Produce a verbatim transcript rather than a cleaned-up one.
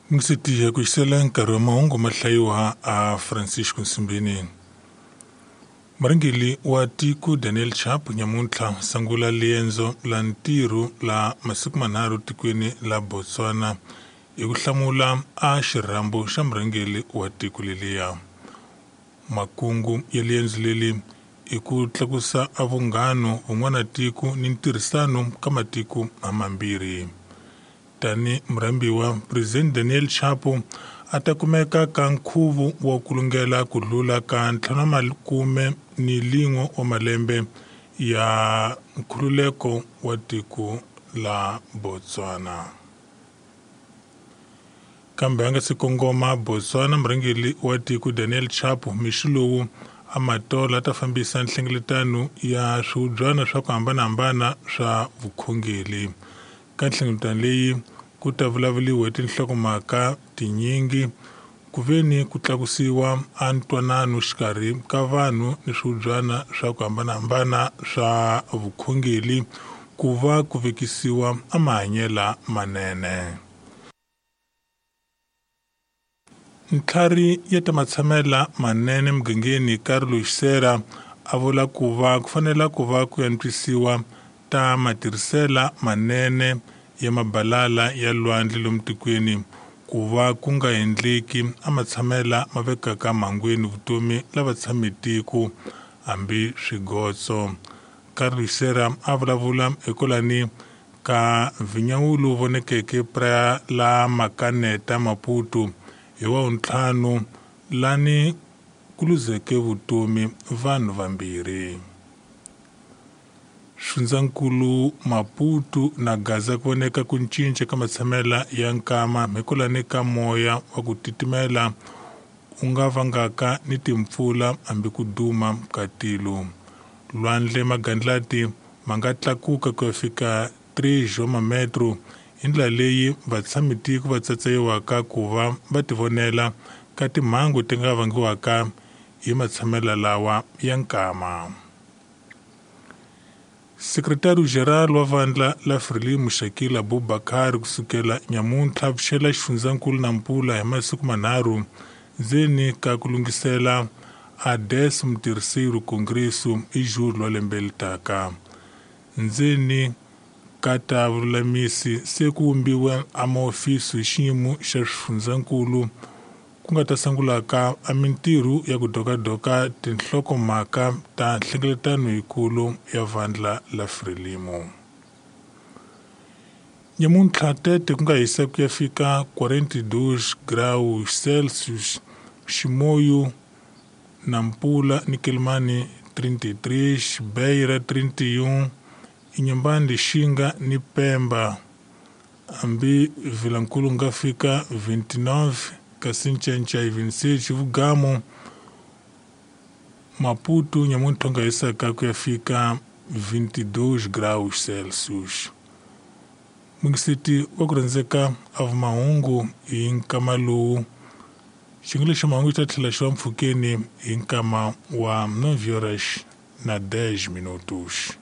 Mingisetiya ku xisela nkarhi wa mahungu ma hlayiwa a Francisco Nsimbini. Murhangeri wa tiko Daniel Chapo nyamuntlha sungula liendzo la ntirho la masiku manharhu tikweni la Botswana hi ku hlamula a xirhambo xa murhangeri wa tiko leliya. Makungu ya liendzo leli i ku tlakusa a vunghano vun'wana tiko ni ntirhisano ka matiko hamambirhi. Tani murhambiwa President Daniel Chapo a ta kumeka ka nkhuvo wa ku lungela ku dlula ka ntlhanu makume ni lin'we wa malembe ya nkhululeko wa tiko la Botswana. Kambe a nga si kongoma Botswana, murhangeri wa tiko Daniel Chapo mixo lowu a matola a ta fambisa nhlengeletano ya swihubyana swa ku hambanahambana swa vukhongeri. Ka nhlengeletano leyi ku ta vulavuriwa hi tinhlokomhaka tinyingi ku veni ku tlakusiwa a ntwanano xikarhi ka vanhu ni swihubyana swa ku hambanahambana swa vukhongeri ku va ku vekisiwa a mahanyelo manene. Ntlhari ya ta matshamela manene mugangeni Carlos Serra a vula ku va ku fanela ku va ku antswisiwa ta matirhisela manene ya mabalala ya lwandle lomu tikweni ku va ku nga endleki a matshamela ma vekaka mhangwini vutomi lava tshame tiko hambi swigotso. Carlos Serra a vulavula ekolani ka vinyawulu vonekeke pra la Makaneta Maputo hi wa ntlhanu lani ku luzeke vutomi vanhu vambirhi. Xifundzankulu Maputo na Gaza ku voneka ku cinca ka matshamela ya nkama hikwalani ka moya wa ku titimela u nga vangaka ni timpfula hambi ku duma ka tilo. Lwandle magandlati ma nga tlakuka ku ya fika three wa mametro hi ndlela leyi vatshamitiko va tsatsayiwaka ku va va tivonela ka timhangu ti nga vangiwaka hi matshamela lawa ya nkama. Sekretari General wa vandla la Frelimo Shakil Abubakar kusukela nyamuntlha pfuxela xifundzankulu Nampula hi masiku manharhu ndzeni ka ku lunghisela a décimo terceiro Congresso hi julho wa lembe leri taka. Ndzeni ka ta vululamisi se ku vumbiwa a mahofisi hi xiyimo xa swifundzankulu ku nga ta sungulaka a mintirho ya ku dokadoka tinhlokomhaka ta nhlengeletano yikulu ya vandla la Frelimo. Nyamuntlha Tete ku nga hisa ku ya fika quarenta e dois graus Celsius, Chimoio, Nampula ni Quelimane trinta e três, Beira trinta e um, Inhambane, Lixinga ni Pemba hambi Vilankulu nga fika vinte e nove, kasi Ncencei vinte e seis, Vugamo, Maputo nyamuntlha nga hisaka ku ya fika vinte e dois graus Celsius. Mungiseti wa ku rhandzeka a vumahungu hi nkama lowu xiyenge xa mahungu xi ta tlhela xi va mpfhukeni hi nkama wa nove horas na dez minutos.